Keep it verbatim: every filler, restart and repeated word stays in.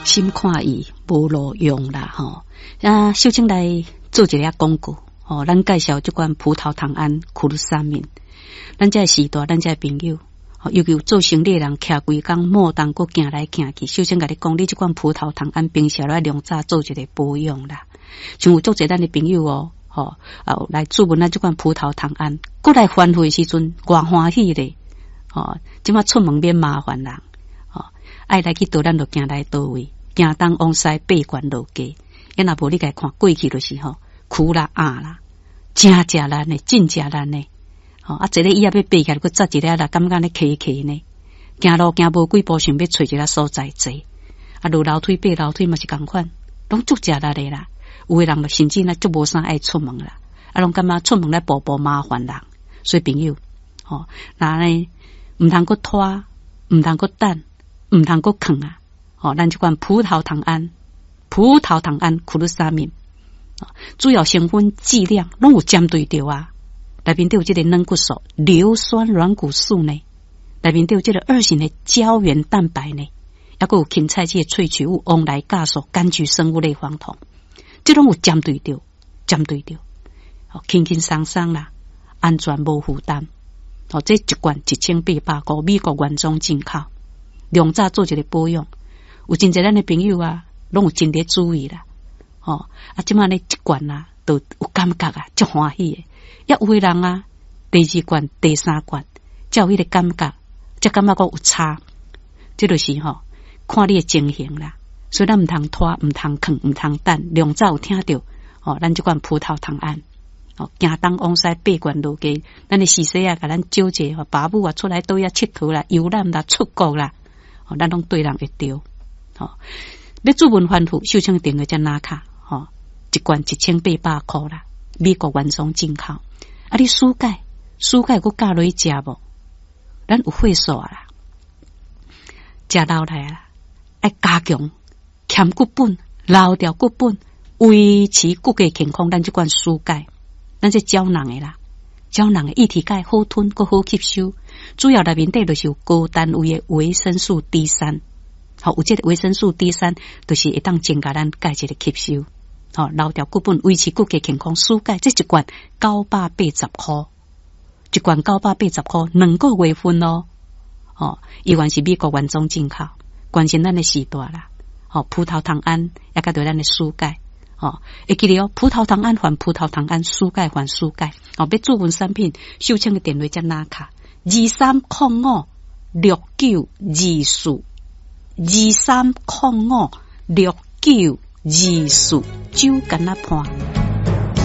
心看伊無路用啦吼。啊，秀清來做一个廣告吼，咱介紹這款葡萄糖胺苦魯沙明。咱這个時代，咱這个朋友，尤其有做生理的人，徛規工莫當閣行來行去。秀清共你講，你這款葡萄糖胺平時來量早做一個保養啦。像有足濟咱的朋友哦，吼啊來注問咱這款葡萄糖胺，閣來反悔的時陣，偌歡喜咧，吼，這馬出門免麻煩人，吼，愛來去佗咱就行來佗位，行東往西八懸落加，啊若無你共看過去就是吼，苦啦壓啦，誠食力呢，真食力呢。吼啊，坐咧椅仔欲爬起來，閣扎一下啦，感覺咧磕磕呢。行路行無幾步，想欲揣一个所在坐。啊，落樓梯爬樓梯嘛是仝款，攏足食力的啦。有的人嘛甚至呢足無啥愛出門啦，啊，攏感覺出門來步步麻煩人。所以朋友，吼，若呢毋通閣拖，毋通閣等，毋通閣囥啊！吼，咱這款葡萄糖胺、葡萄糖胺苦魯沙明，主要成分劑量攏有針對著啊。內面底有這个軟骨素、硫酸軟骨素呢，內面底有這个二型的膠原蛋白呢，抑閣有芹菜籽的萃取物、黃來酵素、柑橘生物類黃酮，這攏有針對著，針對著，輕輕鬆鬆啦，安全無負擔。哦，這一罐一千八百箍，美國原裝進口，量早做一个保養。有真濟咱的朋友啊，攏有真咧注意啦。吼，啊，這馬呢一罐啊，都有感覺啊，足歡喜的。抑有的人啊，第二罐、第三罐，才有彼个感覺，才感覺講有差。這就是吼，看你的情形啦。所以咱毋通拖，毋通囥，毋通等。量早有聽著，吼，咱這款葡萄糖胺，哦，行東往西八懸落加，咱的時勢啊，共咱招者吼，爸母啊出來佗位𨑨迌啦、遊覽啦、出國啦，吼，咱攏對人會著。吼，欲注文反覆，秀清電話遮拿卡，吼，一罐一千八百箍啦，美國原裝進口。啊，你舒鈣，舒鈣閣加落去食無？咱有血素啦，食落來啦，愛加強強骨本、留牢骨本，維持骨骼健康。咱這款舒鈣，咱這膠囊的啦，膠囊的液體鈣好吞，閣好吸收。主要內面底就是有高單位的維生素 D 三，好，有這个維生素 D 三，就是會當增加咱鈣質的吸收。吼，留牢骨本，維持骨骼健康。舒鈣這一罐九百八十箍，一罐九百八十箍，兩個月份哦。吼，依然是美國原裝進口，關心咱的時代啦。吼，葡萄糖胺也佮著咱的舒鈣。吼，會記得哦，葡萄糖胺還葡萄糖胺，舒鈣還舒鈣。吼，欲注文產品，秀清的電話遮拿卡，二三空五六九二四，二三空五六九二四，酒干仔伴。